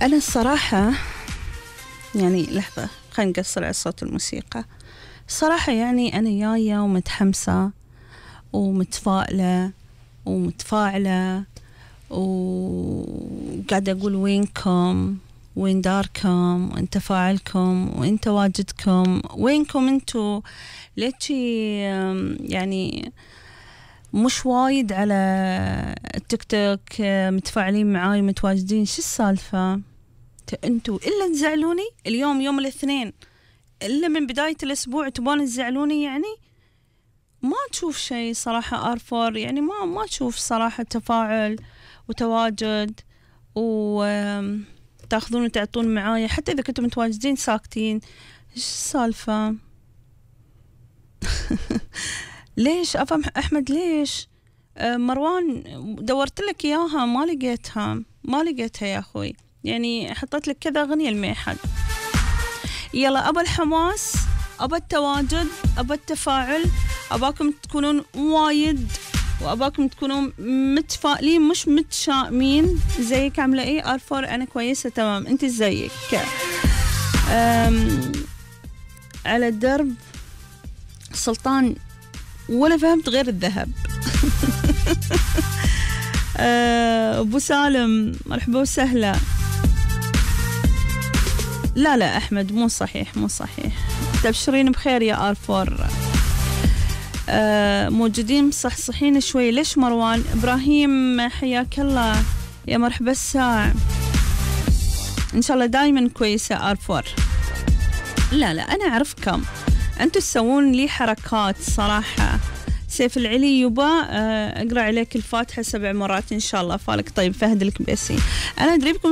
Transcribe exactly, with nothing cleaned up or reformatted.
أنا الصراحة يعني لحظة خلينا نقصر على صوت الموسيقى. الصراحة يعني أنا جاية ومتحمسة ومتفائلة ومتفاعلة وقاعدة أقول وينكم، وين داركم، وين تفاعلكم، وين تواجدكم، وينكم انتو؟ ليتشي يعني مش وايد على التيك توك متفاعلين معاي متواجدين؟ شو السالفة انتو؟ إلا تزعلوني اليوم يوم الاثنين، إلا من بداية الأسبوع تبون تزعلوني يعني؟ ما تشوف شيء صراحة آرفور، يعني ما ما تشوف صراحة تفاعل وتواجد وتاخذون وتعطون معايا، حتى إذا كنتم متواجدين ساكتين. إيش السالفة؟ ليش أفهم أحمد؟ ليش أه مروان دورت لك إياها ما لقيتها، ما لقيتها يا أخوي، يعني حطيت لك كذا أغنية الميحد. يلا أبا الحماس، أبا التواجد، أبا التفاعل، أباكم تكونون وايد، وأباكم تكونون متفائلين مش متشائمين. زيك عاملة إيه؟ آرفور أنا كويسة تمام، أنت زيك على الدرب سلطان ولا فهمت غير الذهب. أبو سالم مرحبا وسهلا. لا لا أحمد مو صحيح مو صحيح، تبشرين بخير يا آرفور. أه موجودين مصحصحين شوي. ليش مروان؟ إبراهيم حياك الله يا مرحبا الساعة، إن شاء الله دايما كويسة آرفور. لا لا أنا أعرفكم أنتوا تسوون لي حركات صراحة. سيف العلي يبا أه أقرأ عليك الفاتحة سبع مرات إن شاء الله. فالك طيب فهد الكبيسي. أنا أدري بكم